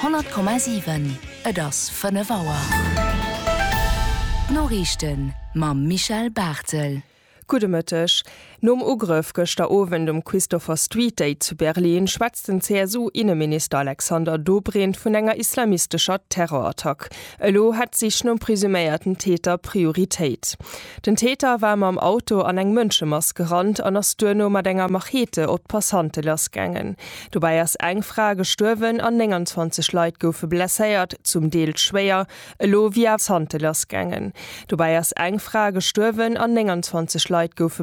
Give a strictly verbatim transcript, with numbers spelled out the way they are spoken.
Honnert Komma siwen, Et ass fënnef Auer. D'Noriichten mam Michèle Barthel. Gudde Mëtteg. Nom Ugrëff gëschter Owend um Christopher Street Day zu Berlin schwätzt den C S U-Inneminister Alexander Dobrindt vun enger islamistescher Terrorattack. Elo hätt d'Sich nom presuméierten Täter Prioritéit. Den Täter war mam Auto an eng Mënschemass gerannt an ass duerno mat enger Machete op d'Passante lassgaangen. Dobäi ass eng Fra gestuerwen an nénganzwanzeg Leit goufe blesséiert, zum Deel schwéier. Elo wier Passante lassgaangen. Dobäi ass eng Fra gestuerwen an nénganzwanzeg Leit goufe